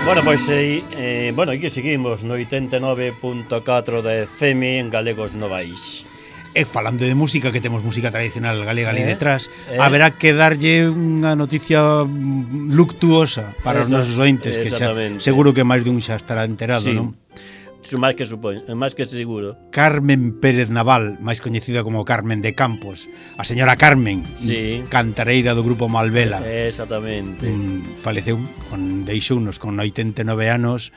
Bueno, pois, bueno, aquí seguimos no 89.4 de FM en Galegos Novais. E falando de música, que temos música tradicional galega ali detrás, haberá que darlle unha noticia luctuosa para os nosos ointes, que xa, seguro que máis dun xa estará enterado, non? Máis que supoño, máis que seguro. Carmen Pérez Naval, máis coñecida como Carmen de Campos, a señora Carmen, cantareira do grupo Malvela. Exactamente. Faleceu, deixounos con 89 anos,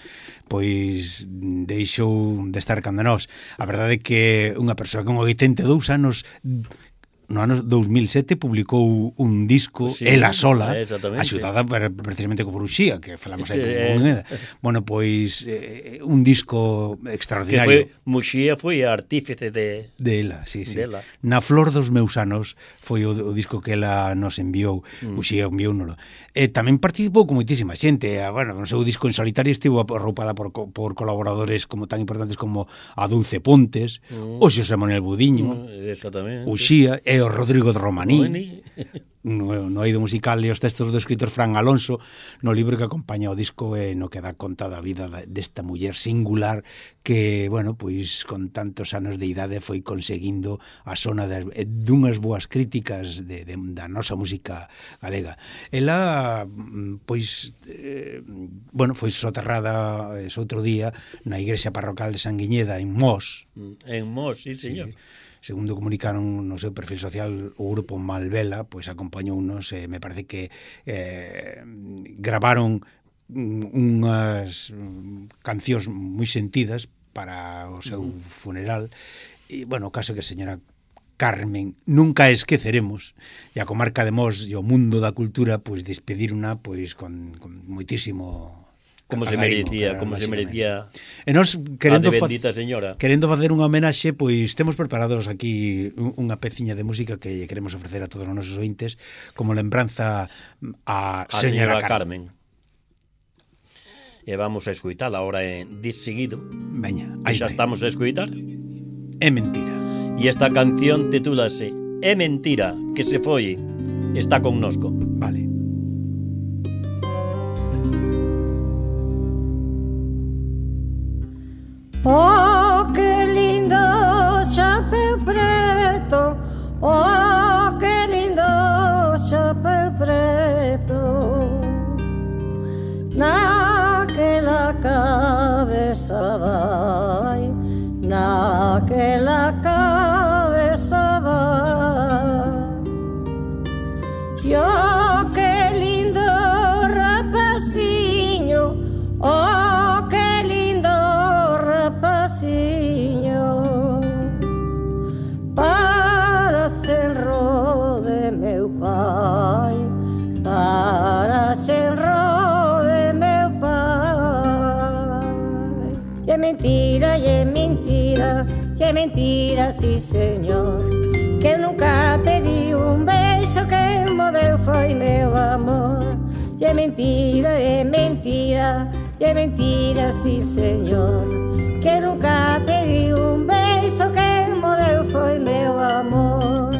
pois deixou de estar cando nós. A verdade é que unha persoa con 82 anos, no ano 2007 publicou un disco, ela sola, axudada precisamente co Bruxía, que falamos aí con Moneda. Bueno, pois un disco extraordinario. Que Muxía foi artífice de ela, sí. Na flor dos meus anos foi o disco que ela nos enviou, Muxía enviounolo. Tamén participou con moitísima xente. Bueno, no seu disco en solitario estivo arroupada por colaboradores como tan importantes como a Dulce Pontes, o Xosé Manuel Budiño, Uxía e o Rodrigo de Romaní, no eido musical e os textos do escritor Fran Alonso, no libro que acompaña o disco e no que dá conta da vida desta muller singular que, bueno, pois con tantos anos de idade foi conseguindo a sona dunhas boas críticas da nosa música galega. Ela, pois, bueno, foi soterrada outro día na igrexa parroquial de Sanguiñeda, en Mos. En Mos, sí, señor. Segundo comunicaron no seu perfil social o grupo Malvela, pois acompañounos, me parece que gravaron unhas cancións moi sentidas para o seu funeral. E, bueno, o caso que a señora Carmen nunca esqueceremos, e a comarca de Mos e o mundo da cultura, pois despediruna pois con moitísimo como se merecía e nos querendo bendita señora. Querendo facer unha homenaxe, pois temos preparados aquí unha peciña de música que queremos ofrecer a todos os nosos ointes como lembranza a señora Carmen. E vamos a escoitala agora de seguido. Veña, aí xa estamos a escoitar. É mentira. E esta canción titúlase É mentira que se foi, está connosco. Vale. Oh, que lindo chapéu preto, oh, que lindo chapéu preto, naquela cabeza vai, naquela cabeza vai. Oh, que lindo rapazinho, oh, para senro de meu pai, para senro de meu pai. E é mentira, e é mentira, e é mentira, sí señor, que eu nunca pedi un beijo, que mo deu foi meu amor. E é mentira, e é mentira, e é mentira, sí señor, que eu nunca pedi un beijo, que mo deu foi meu amor.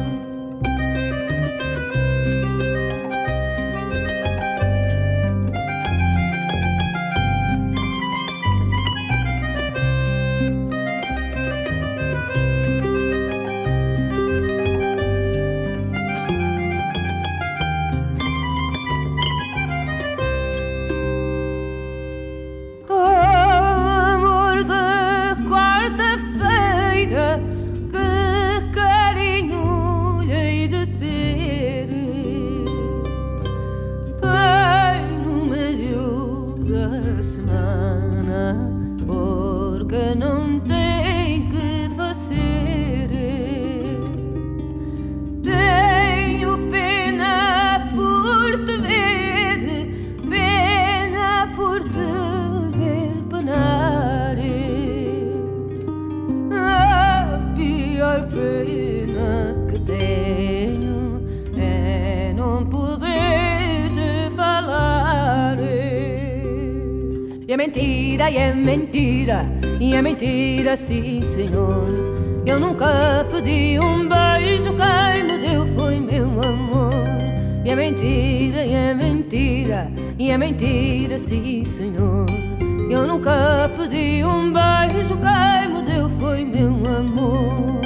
E é mentira, e é mentira, sim senhor, eu nunca pedi um beijo, quem me deu foi meu amor. E é mentira, e é mentira, e é mentira, sim senhor. Eu nunca pedi um beijo, quem me deu foi meu amor.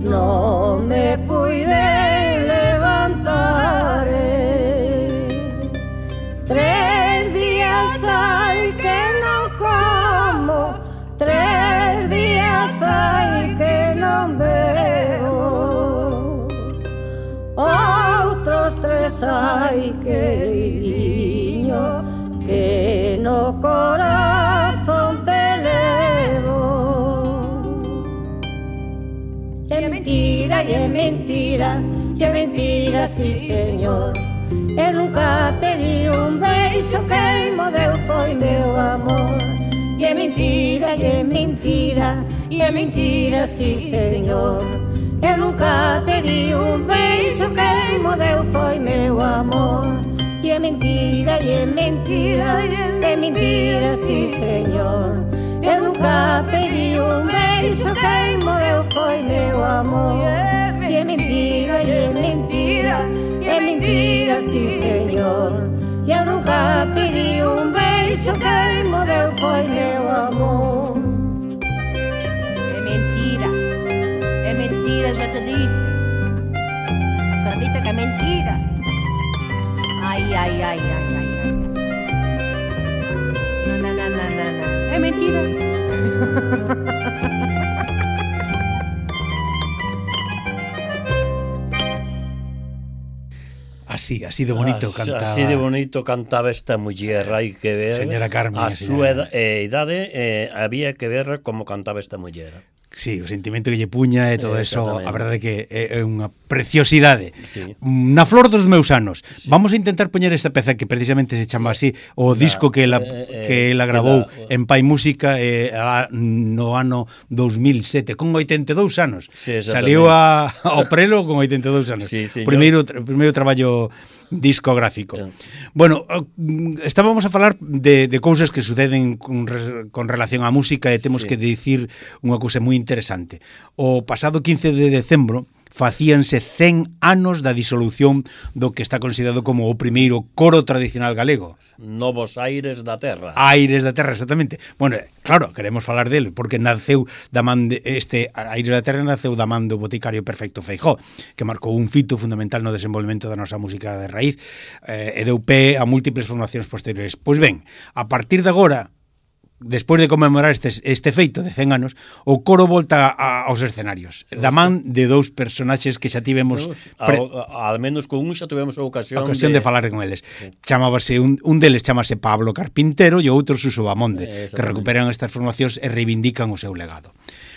No me pude levantar. 3 días hay que no como, 3 días hay que no bebo, otros 3 hay querido que no corazón te levo. Y es mentira, y es mentira, y es mentira, sí señor. Eu nunca pedi un beijo, quem me deu foi meu amor. E é mentira, e é mentira, e é mentira, sí señor. Eu nunca pedi un beijo, quem me deu foi meu amor. E é mentira, e é mentira, é mentira, sí señor. Eu nunca pedi un beijo, quem me deu foi meu amor. E é mentira, e é mentira, é mentira, sí señor. Eu nunca pedi un beijo, quem me deu foi meu amor. É mentira, já te disse. Acredita que é mentira. Ai, ai, ai, ai, ai, ai. Não, é mentira. Así de bonito cantaba. Así de bonito cantaba esta muller, hai que ver. Señora Carmen, a súa idade, había que ver como cantaba esta muller. Sí, o sentimento que lle puña e todo eso, a verdade que é unha preciosidade. Sí. Na flor dos meus anos. Sí. Vamos a intentar poñer esta peza que precisamente se chama así, o disco que ela grabou en Pai Música no ano 2007, con 82 anos. Sí, saliu ao prelo con 82 anos. Sí, primeiro traballo discográfico. Bueno, estábamos a falar de cousas que suceden con relación á música e temos que dicir unha cousa moi interesante. O pasado 15 de decembro facíanse 100 anos da disolución do que está considerado como o primeiro coro tradicional galego. Novos Aires da Terra. Aires da Terra, exactamente. Bueno, claro, queremos falar dele, porque naceu da man de Aires da Terra naceu da man do boticario Perfecto Feijóo, que marcou un fito fundamental no desenvolvemento da nosa música de raíz e deu pé a múltiples formacións posteriores. Pois ben, a partir de agora, despois de conmemorar este feito de 100 anos, o coro volta aos escenarios, da man de dous personaxes que xa tivemos al menos con un xa tivemos a ocasión de falar con eles. Sí. Chamábase un deles chamase Pablo Carpintero e o outro Suso Bamonde, que recuperan estas formacións e reivindican o seu legado.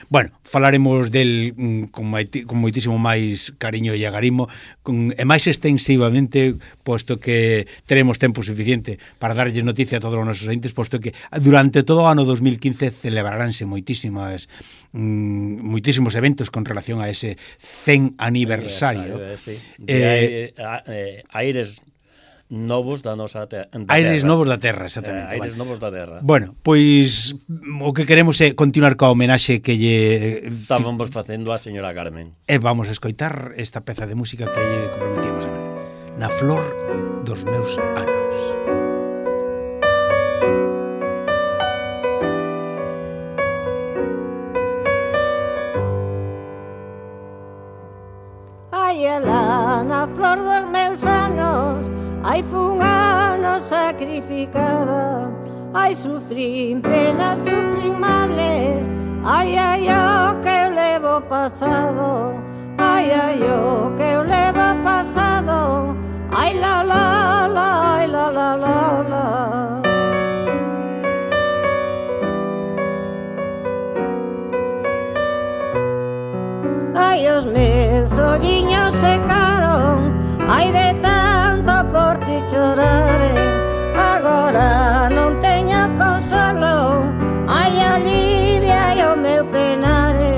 Bueno, falaremos del con moitísimo máis cariño e agarimo e máis extensivamente, posto que teremos tempo suficiente para darlle noticia a todos os nosos ointes, posto que durante todo o ano 2015 celebraránse moitísimos eventos con relación a ese 100 aniversario. Aires novos da nosa terra. Aires novos da terra, exactamente. Aires novos da terra. Bueno, pois o que queremos é continuar coa homenaxe que lle estábamos facendo á señora Carmen. E vamos a escoitar esta peza de música que lle comprometíamos a ver. Na flor dos meus anos. Ai, alá, na flor dos meus anos, ai, fun ano sacrificada. Ai, sufrín penas, sufrín males. Ai, ai, o que eu levo pasado. Ai, ai, o que eu levo pasado. Ai, la, la, la, ai, la, la, la, la. chorare, agora non teño consolo. Ai, alivia o meu penare,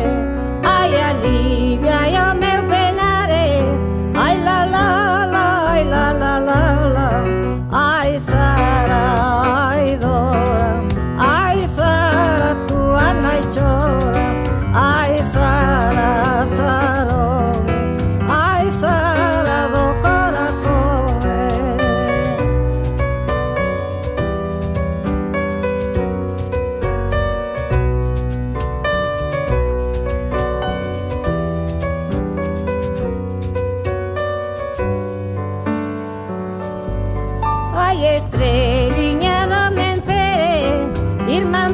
ai, alivia o meu penare. Ai, la la la, ai, la la la la. Ai, Sara, ai, Dora, ai, Sara, tua nai chora. Ai, Sara, Sarone, ai, Sara do corazón. Ai, estreliña do mencere, irmán